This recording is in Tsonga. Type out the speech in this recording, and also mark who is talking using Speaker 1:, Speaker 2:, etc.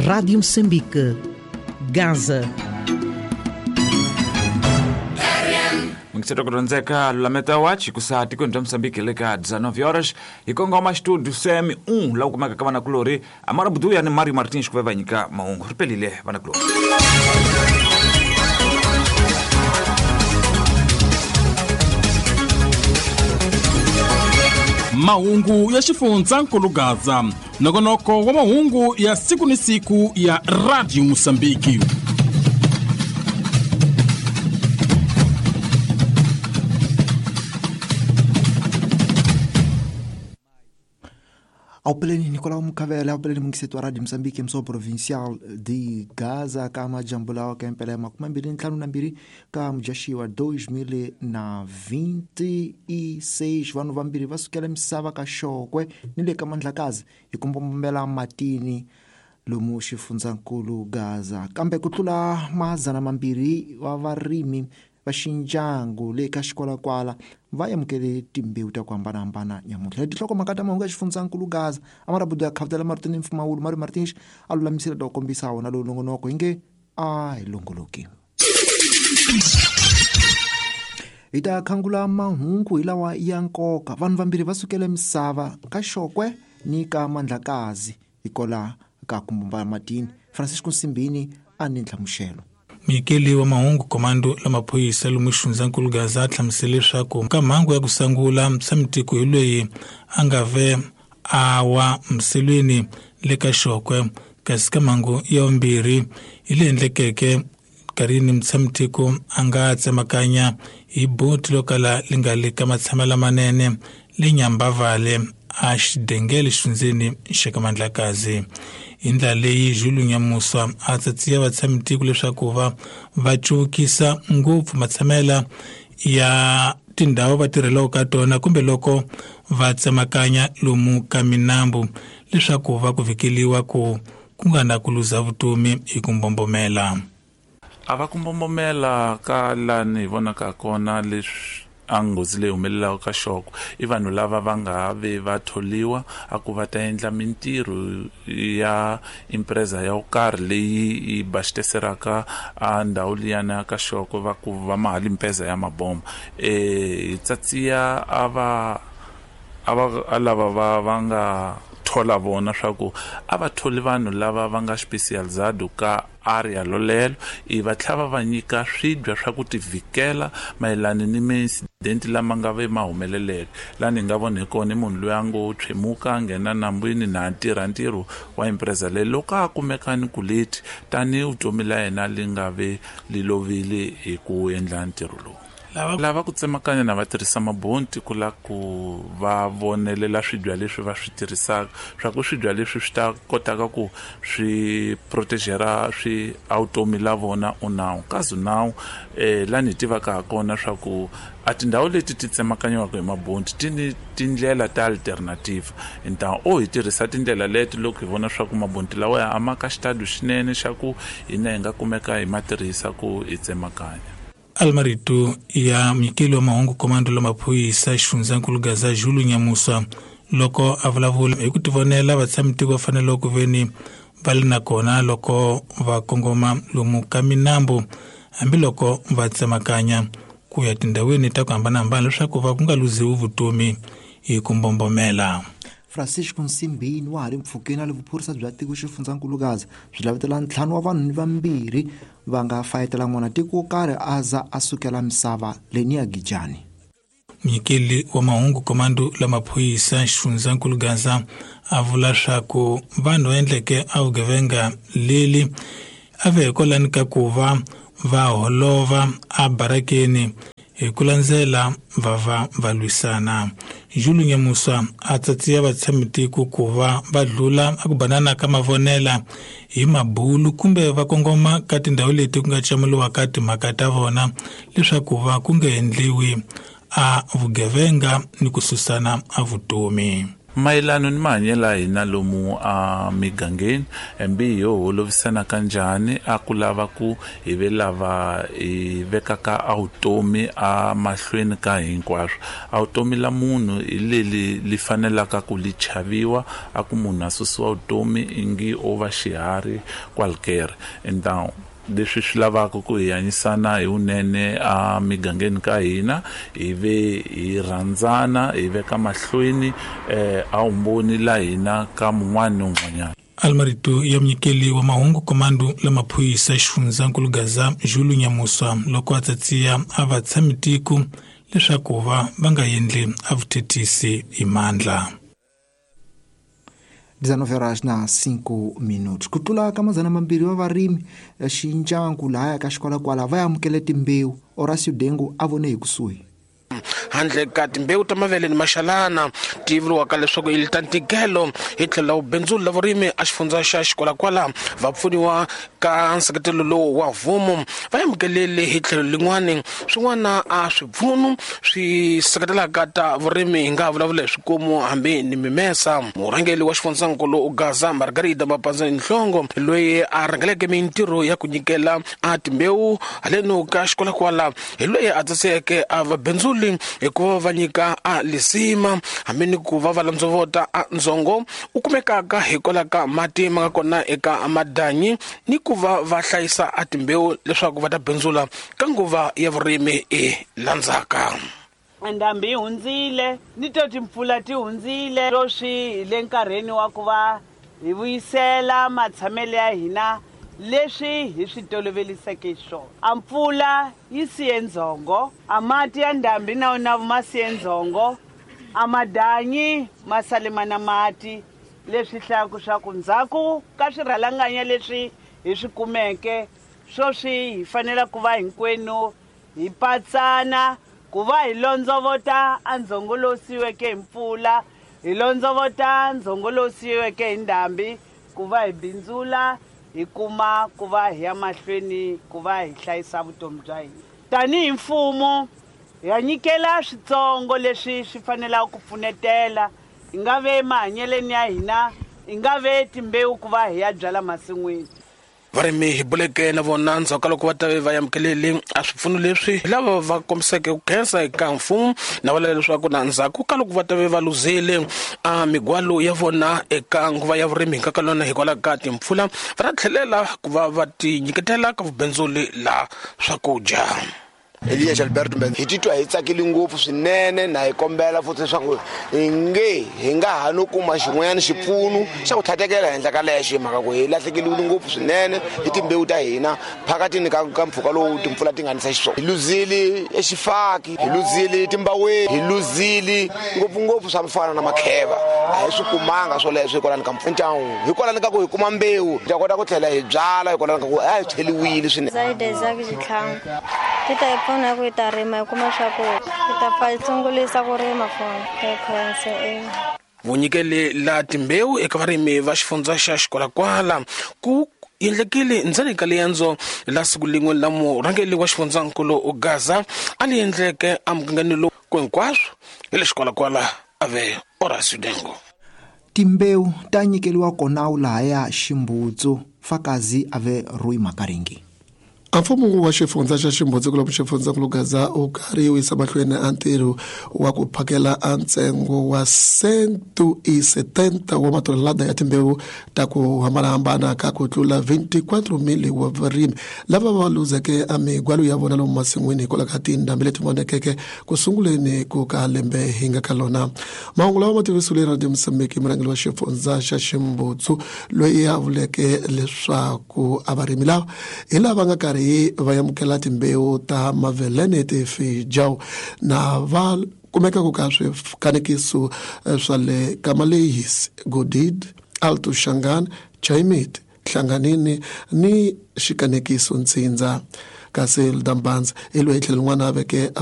Speaker 1: Rádio Moçambique, Gaza.
Speaker 2: Mukiseta kutonzeka lulameta wachi kusa tikweni bya Mozambique le ka 19 horas hi kongoma studio CM1 la kumeka ka vanakulori Amara Buduya ni Mario Martins ku va nyika mahungu ri pelile vanakulori.
Speaker 3: Mahungu ya xifundzankulu Gaza, nongonoko wa mahungu ya siku ni siku ya Radio Mozambique.
Speaker 4: Aupeleni Nicolau Mukavele, aupeleni mungisetu wa Radio Mozambique mso provincial de Gaza kama jambo lao ka empele 2052 ka mujashi wa 2026 vanhu vambirhi va sukela misava ka Xokwe ni le ka Mandlakazi hi ku mbombomela matini lomu xifundzankulu Gaza kambe ku tlula 200 wa varimi va xinjangu le ka xikwalakwala va amukele timbewu ta ku hambanahambana nyamuntlha tinhlokomhaka ta mahungu ya xifundzankulu Gaza Amara Budu ya khavutela Martin Mfumawulu Mario Martins a lulamisela ta ku kombisa wona lowu nongonoko hi nge a hi longoloki. Hi ta khangula mahungu hi lawa ya nkoka. Vanhu vambirhi va sukele misava ka Xokwe ni ka Mandlakazi hikola ka ku mbumba matini. Francisco Nsimbini a ni nhlamuxelo.
Speaker 5: Munyikeli wa mahungu komando la maphorisa lomu xifundzankulu Gaza a hlamusele leswaku ka mhangu ya ku sungula mutshami-tiko hi loyi a nga ve a wa miselweni le ka Xokwe, kasi ka mhangu ya vumbirhi hi leyi endlekeke nkarhini mutshami-tiko a nga tsemakanya hi boti lo kala li nga le ka matshama lamanene le Nyambavale a xidengele xifundzeni xa ka Mandlakazi. Hi ndlela leyi Julu Nyamusa a tsatsiya vatshami-tiko leswaku va cuvukisa ngopfu matshamela ya tindhawu va tirhelaka ka tona kumbe loko va tsemakanya lomu ka minambu leswaku va ku vhikeliwa ku ku nga na ku luza vutomi hi ku mbombomela.
Speaker 6: A va ku mbombomela ka lani hi vonaka kona leswi a nghozi leyi humelelaka ka Xokwe i vanhu lava va nga ve va tholiwa a ku va ta endla mintirho ya empresa ya ku karhi leyi yi baxiteseraka a ndhawu liyana ka Xokwe va ku va mahali mpeza ya mabomba. Hi tsatsiya a va a lava va nga thola vona swa ku a va tholi vanhu lava va nga specialized ka area lolelo i va tlhava va nyika swibya swa ku tivhikela mayelana ni ma-incident lama nga ve ma humeleleke. Lani hi nga vona hi kona i munhu loyi a ngo tshwemuka a nghena nambwini na tirha ntirho wa empresa leyi loko a kumeka ni ku leti tanihi vutomi la yena li nga ve li lovile hi ku endla ntirho lowu. Lava ku tsemakanya na va tirhisa mabonti ku la ku va vonelela swibya leswi va swi tirhisaka swa ku swibya leswi swi ta kotaka ku swi protegera swi automi la vona unawu kazi nawu lani hi tivaka ha kona swa ku a tindhawu leti ti tsemakanyiwaka hi mabonti ti ni tindlela ta alternative nta o hi tirhisa tindlela leti loko hi vona swa ku mabonti lawa ya ama ka xitadu xinene xa ku hina hi nga kumeka hi ma tirhisa ku hi tsemakanya.
Speaker 5: Almarito ya munyikeli wa mahungu komando la maphorisa xifundzankulu Gaza Julu Nyamusa loko a vulavula hi ku tivonela vatshami-tiko va fanele ku veni va li na kona loko va kongoma lomu ka minambu hambiloko va tsemakanya ku ya tindhawini ta ku hambanahambana leswaku va ku nga luziwi vutomi hi ku mbombomela.
Speaker 4: Francisco Nsimbini wa ha ri mpfhukeni a le vuphorisa bya tiko xifundzankulu Gaza byi lavetela 5 wa vanhu ni vambirhi va nga fayetela n'wana tiko wo karhi a za a sukela misava leniya Gijani.
Speaker 5: Munyikeli wa mahungu komando la maphorisa xifundzankulu Gaza a vula swa ku vanhu va endleke a vugevenga leli a ve hikwalani ka ku va va holova a barakeni hi ku landzela va va lwisana. Julu Nyamusa a tsatsiya vatshami-tiko ku va va dlula a ku banana ka mavonela hi mabulu kumbe va kongoma ka tindhawu leti ku nga camuliwaka timhaka ta vona leswaku va ku nga endliwi a vugevenga ni ku susana a vutomi.
Speaker 6: Mayelano ni mahanyelo ya hina lomu a migangeni hambi hi holovisana kanjhani a ku lava ku hi ve lava hi vekaka a vutomi a mahlweni ka hinkwaswo. A vutomi la munhu hi leli li fanelaka ku li chaviwa, a ku munhu a susiwa vutomi ingi o va xiharhi kwalkere. And leswi swi lavaka ku hi hanyisana hi vunene a migangeni ka hina, hi ve hi rhandzana, hi veka mahlweni a vumbhoni la hina ka mun'wana ni un'wanyana.
Speaker 5: Almarito ya munyikeli wa mahungu komando la maphorisa xifundzankulu Gaza Julu Nyamuswa loko a tsatsiya a va tshami tiko leswaku va nga endli a vuthethisi hi mandla.
Speaker 4: 19:05 Ku tlula ka 200 wa varimi xincanku lahaya ka xikwalakwala va amukele timbewu. Horacio Dengu a vone hi kusuhi.
Speaker 7: Handle ka timbewu ta mavele ni maxalana ti vuriwaka leswaku i ta ntikelo hi tlhelo bindzu la vurimi a xifundza xa xikwalakwala va pfuniwa ka nseketelo lowu wa mfumo va amukelele hi tlhelo lin'wani swin'wana a swipfuno swi seketelaka ta vurimi hi nga vulavula hi swikomu hambi ni mimesa. Murhangeri wa xifundzankulu Gaza Margarida Mapanza Nhlongo loyi a rhangeleke mintirho ya ku nyikela a timbewu haleno ka xikwalakwala hi loyi a tsaseke a vabindzuli hikuva va nyika a lisima hambi ni ku va va landzovota a ndzongo u kumekaka hikwalaho ka mati ma nga kona eka madanyi ni ku va va hlayisa a timbewu leswaku va ta bindzula ka nguva ya vurimi e landzaka.
Speaker 8: Ndhambi yi hundzile ni to timpfula ti hundzile sweswi hi le nkarhini wa ku va hi vuyisela matshamelo ya hina leswi hi swi toloveliseke swona. A mpfula yi siye ndzhongo, a mati ya ndhambi na wona ma siye ndzhongo, a madanyi ma sale ma na mati, leswi hlayaka swa ku ndzhaku ka swirhalanganya leswi hi swi kumeke sweswi hi fanele ku va hinkwenu hi patsana ku va hi londzovota a ndzhongo lowu siyiweke hi mpfula, hi londzovota ndzhongo lowu siyiweke hi ndhambi, ku va hi bindzula hi kuma ku va hi ya mahlweni ku va hi hlayisa vutomi bya hina. Tanihi mfumo hi nyikela switsongo leswi swi fanelaka ku pfunetela, hi nga ve mahanyeleni ya hina, hi nga ve timbewu ku va hi ya byala masin'wini.
Speaker 7: Varimi hi buleke na vona ndzhaku ka loko va ta va amukelele a swipfuno leswi hi lava va kombiseke ku khensa eka mfumo na vula leswaku na ndzhaku ka loko va ta va luzile a migwalo ya vona eka nguva ya vurimi hi nkakalona hikwalaho ka timpfula va ta tlhelela ku va va ti nyiketela ka vubindzuli la swakudya.
Speaker 9: Elias Alberto Mbenza hi titwa hi tsakile ngopfu swinene na hi kombela futhi leswaku hi nge hi nga ha no kuma xin'wanyana xipfuno xa ku tlhatekela henhla ka lexo hi mhaka ku hi lahlekeliwile ngopfu swinene hi timbewu ta hina phakatini ka mpfhuka lowu timpfula ti nga nisa xiswona. Hi luzile exifaki, hi luzile timbaweni, hi luzile ngopfungopfu swa mfana na makheva, a hi swi kumanga swoleswo hikwalani ka mpfundyangu, hikwalani ka ku hi kuma mbewu hi ta kota ku tlhela hi byala, hikwalani ka ku a hi tlheliwile swinene.
Speaker 10: Pfuna ku ta rima hi kuma swakudya, hi ta pfa hi sungulisa ku rima fona hi khensa.
Speaker 7: Vunyikeli la timbewu eka varimi va xifundza xa xikwalakwala ku endlekile ndzeni ka liendzo la siku lin'we la murhangeri wa xifundzankulu Gaza a li endleke emugangeni lowu ku hinkwaswo hi le xikwalakwala a ve Horacio Dengo.
Speaker 4: Timbewu ta nyikeliwa kona lahaya Ximbutsu fakazi a ve Rui Makaringi.
Speaker 11: A mfumo wa xifundza xa Ximbutsu kulomu xifundzankulu Gaza u karhi wu yisa mahlweni a ntirho wa ku phakela a ntsengo wa 170 wa matonelada ya timbewu ta ku hambanahambana ka ku tlula 24,000 wa varimi lava va luzeke a migwalo ya vona lomu masin'wini hikwalaho ka tindhambi leti vonekeke ku sunguleni ku ka lembe hi nga ka lona. Mahungu lawa ma tivisiwile Radio Mozambique murhangeri wa xifundza xa Ximbutsu loyi a vuleke leswaku a varimi lava hi lava nga karhi va amukela timbewu ta mavelene tifijau na va kumeka ku ka swikanekiso swa le Kamalehis, Godid, Alto Shangan, Chaimit, Hlanganini ni xikanekiso Ntsindza. Kasi Eldambanz hi loyi tlhelo rin'wana a veke a